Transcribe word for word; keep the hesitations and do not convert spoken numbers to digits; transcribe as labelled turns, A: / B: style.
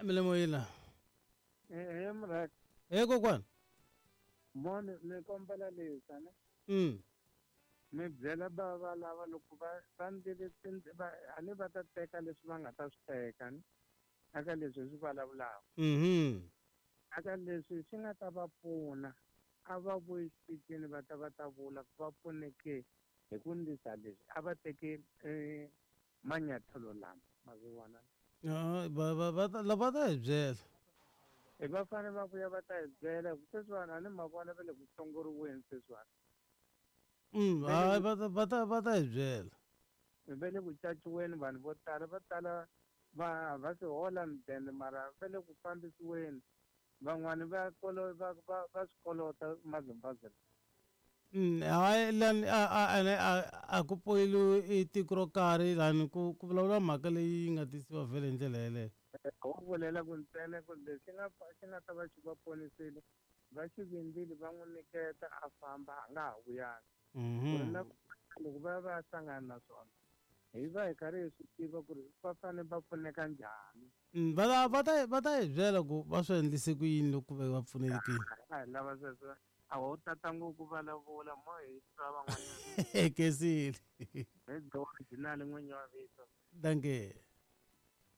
A: Milemoyila.
B: Eh mra.
A: Eh kokwana.
B: Mone ni kombela leswi ne.
A: Mm.
B: Mi byela bava lava loko va va ndlele va a ni va ta teka leswi va nga ta swi teka ni. Aka leswi swi vulavulaka.
A: Mhm.
B: Aka leswi swi nga ta va pfuna a va vuyi xitichini va ta va ta vula ku va pfuneke hi ku ndlisa leswi a va teke eh manyathelo lama ma swi vona.
A: Ah va va va lava ta hi byela.
B: E va fanele va vuya va ta hi byela ku sweswiwani a ni ma vona va le ku hlongoriweni sweswiwani.
A: Mm, hayi va ta va ta va ta hi byela.
B: Va le ku caciweni vanhu vo tala va tala va va swi hola mudende mara va le ku fambisiweni van'wani va kolo va va va swi kolota mazimbabwe.
A: Mm, hayi lani a a a a ku poyiliwi i tiko ro karhi lani ku ku vulavula mhaka leyi nga tisiwa vhele hi ndlela yeleyo.
B: Ho vulela ku ntsena ku lexi nga xi nga ta va xi va ponisile va xi vindzile va n'wi nyiketa a famba a nga ha vuyanga. Ku ri na loko va ya va ya hlangana na swona hi va hi karhi hi swi tiva ku ri va fanele va pfuneka njhani.
A: Va ta va ta va ta hi byela ku va swi endlise ku yini loko va pfunekile.
B: A hi lava sweswo a ho tata ngopfu vulavula mo hi twa van'wanyana.
A: Kesile.
B: Hi original n'winyi wa vito.
A: Dankie.